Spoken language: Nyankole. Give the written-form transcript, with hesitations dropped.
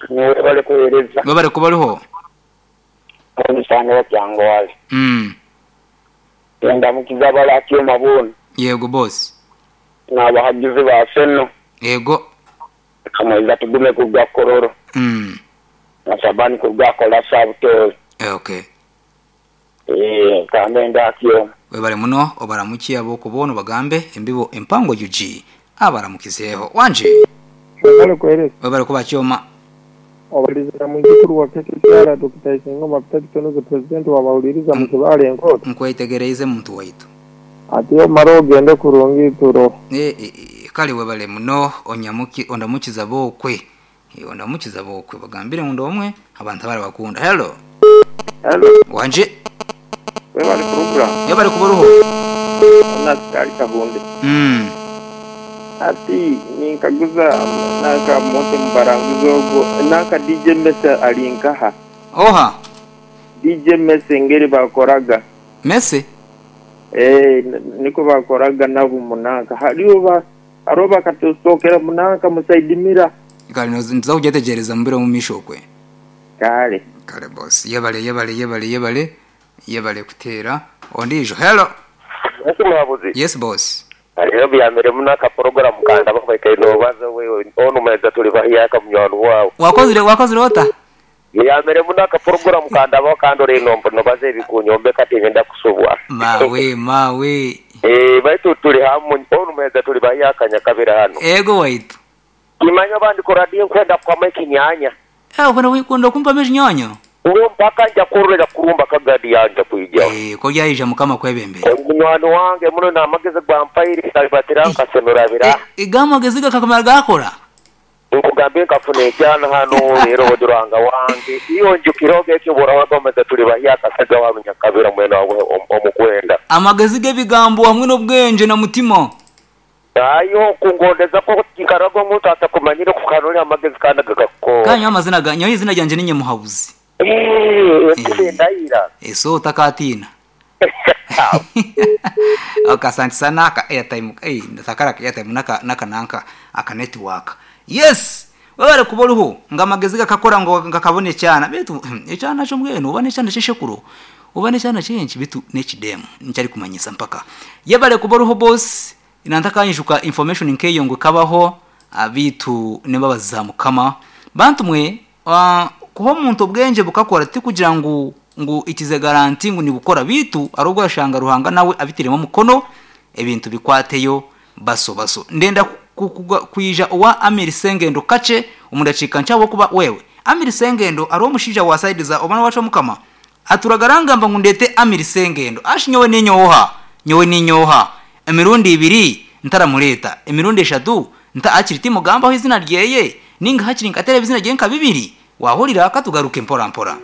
Webale kuwereza. Webale kuba oriho. Omusana otyangowale. Mm. Ndamukiza abalakyoma boona. Yego boss. N'abahagizi ba Arsenal. Yego. Kamweiza tugume kuruga Kololo. Mm. Na Shabani kuruga Kolasa Butooro. Okay. Eeh kambe ndakyoma. Webale muno obaramukye ab'oku boona obagambe embibo empango UG abaramukizeeho. Wangi. Webale kuwereza. Webale kuba kyoma. Obalizira mwizukuru wa KKCR Dokita Isingoma Peter Kitonoze President wa Bawuliriza mu Kibaale Enkooto. Nkwetegereize muntu waitu. Ati omare ogende kurungi ituro. E, e, e, kale webale muno onyamuki ondamukiza bokwe. E, ondamukiza bokwe bagambire ngu omwe abantu abarabakunda. Hello. Hello. Wanje. Webale program. Webale kuba oruho. Ona Kahunde. Ati ninkaguza nanka Monte Mubaranguzi ogwo nanka DJ Mese ali nkaha? Oha? DJ Mese engeri bakoraga. Mese? Eh, niko bakoraga nabo munanka. Hariho ba hariho bakatusokera munanka musaidimira. Kale nza kugyetegereza mubiro omu maisho okwe. Kale. Kale boss. Yebale yebale yebale yebale yebale kuteera ondiijo. Hello. Yes muhabuzi. Yes boss. Hariho byamire muno aka program kandaba kubaikaire nobaza we onu meza tuli bahyaka munywani wawe. Wakozire wakozire ota? Byamire muno aka program kandaba kandi ori nombo nobaza ebikunyombeka tinyenda kusubwa. Mawe mawe. Eh baitu tuli hamwe onu meza tuli bahyaka nyakabira hano. Ego waitu. Kimanya abandi koradi nkwenda kwama ekinyanya. Eh okwenda kwenda kumpa ekinyanya? Uwo mpaka nja kururira kurumba kagadi yanja kwija. Eh ko mukama kwebembera. Munywani wange muno n'amagezi gwampaire kalibatira nkasemerabira. Eh, gamagezi gakakamara gakora. Nkugambye nkafuna ekyana hano leero oduranga wange iyo njukiroga ekyo burawaga tuli bahyaka saga wa nyakabira mwene wawe omukwenda. Amagezi g'ebigambo hamwe n'obwenge na mutima. Ayo kungondeza ko kikarago omuntu atakumanyire kukanoli amagezi kandi gakakora. Kanyo amazina ga nyowe izina ryanje ninye muhabuzi. Eh, ndayira. Eso otakatina. Okay, asante sana aka airtime eh ndakara airtime naka naka nanka aka network. Yes. Webale kuba oruho nga amagezi gakakora ngo ngakabone ekyana bitu ekyana kyo mbwenu oba n'ekyana ky'eshekuro oba n'ekyana kyenki bitu n'ekidemu nkyari kumanyisa mpaka. Yebale kuba oruho boss inantakanyijuka information nkeyo ngo kabaho abitu nembabazi mukama bantu mwe kuba omuntu obwengye bukakora tikugira ngu ngu it is a guarantee ngu nibukora bitu arobwo orashanga Ruhanga nawe abitiremu omukono ebintu bikwateyo baso baso. Ndenda kwija owa Amiri Sengendo kakye omu dakiika nkye ahabw'okuba wewe Amiri Sengendo ariho omushaija wa side za omwana wacu Mukama aturagara angamba ngu ndete Amiri Sengendo ashi nyowe ninyoha nyowe ninyoha emirundi ibiri ntaramureeta emirundi eshatu nta hakiri timugambaho izina ryeye ninga hakiri nkatereeba izina rye nka bibiri wahurira katugaruke mpora mpora.